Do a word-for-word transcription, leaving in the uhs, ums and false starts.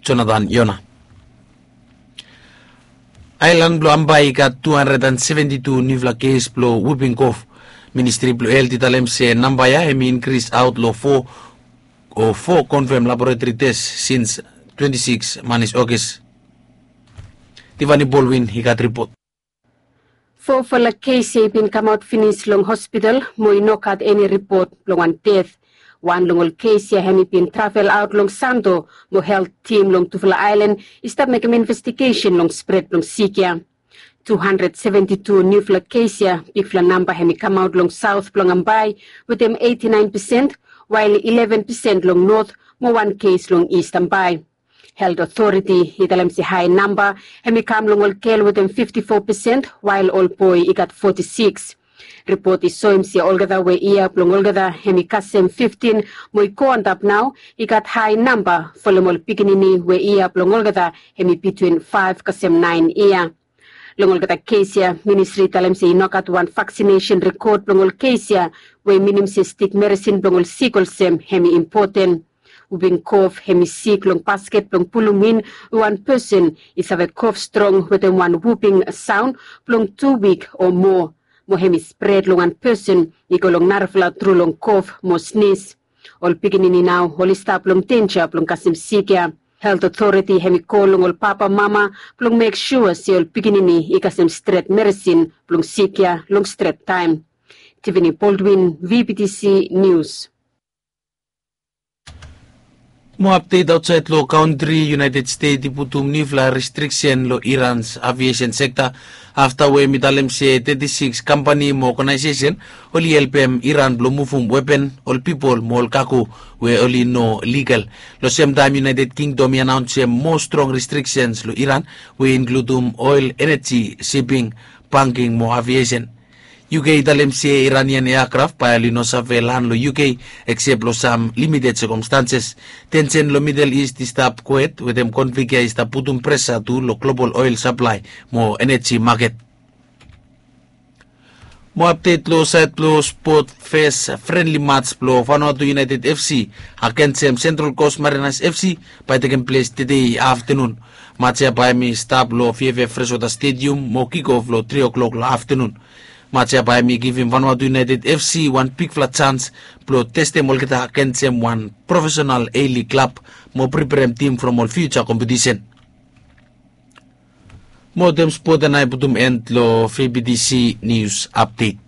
Jonathan Yona. Aelan blong Ambae i gat tu handred an seventi tu niufala kes blong wuping kof. Ministri blong helt i talem se namba ya hem i inkris aot long fo o fo konfem laboretri tes sins twenti sikis manis Ogis. Tivani Bolwin i gat ripot. Fofala kes ya i bin kamaot finis long hospital mo i no gat eni ripot blong wan det. Wan long ol kes ya hem i bin travel aot long Sando mo helt tim long tufala aelan i stap mekem investigesen long spred blong sik ya. Tu handred seventi tu niufala kes ya, bigfala namba hem i kamaot long saot blong Ambae wetem eiti naen pesen, wael ileven pesen long not mo wan kes long Ist Ambae. Helt otoriti i talem se hae namba hem i kam long ol gel wetem fifti fo pesen, wael ol boe i gat foti sikis. Ripot i soem se olgeta we yia blong olgeta hem i kasem fiftin mo i go antap nao i gat hae namba folem ol pikinini we yia blong olgeta hem i bitwin faef kasem naen yia. Long olgeta kes ya, ministri i talem se i no gat wan vaksinesen rekod blong ol kes ya, we i minim se stik meresin blong ol sik olsem hem i impoten. Wuping kof hem i sik long basket blong pulum in we wan pesen i save kof strong wetem wan wuping saon blong tu wik o moa, mo hem i spred long wan pesen i go long narafala tru long kof mo snis. Ol pikinini nao oli stap long denja blong kasem sik ya. Helt otoriti hem i kol long ol papamama blong mek sua se ol pikinini i kasem stret meresin blong sik ya long stret taem. Tivini Boldwin, VBTC Nius. Moa apdet aotsaed long kantri. United Stet i putum niufala restriksen long Irans aviesen sekta afta we hem i talem se teti sikis kampani mo oganaesesen oli helpem Iran blong muvum wepen, ol pipol mo ol kago we oli no ligal. Long semtaem United Kingdom i anaonsem moa strong restriksens long Iran we i inkludum oel, eneji, siping, banking mo aviesen. UK i talem se Iranian eakraf bae oli no save lan long UK eksep long sam limited sekomstanses. Tensen long Midel Ist i stap kwet wetem konflik ya i stap putum presa tu long global oel saplae mo eneji maket. Moa apdet long saed blong spot. Fes frenli mats blong Vanuatu United FC agensem Sentral Kos Marinas FC bae i tekem ples tede aftenun. Mats ya bae hem i stap long VFF Freshwater Stadium mo kikof long tri o'clock long aftenun. Mats ya bae hem i givim Vanuatu United FC wan bigfala jans blong testem olgeta agensem wan profesenal A-League klab mo preperem tim from ol fiuja kompetisen. Mo wetem spot ya nao i putum en long VBTC Nius Apdet.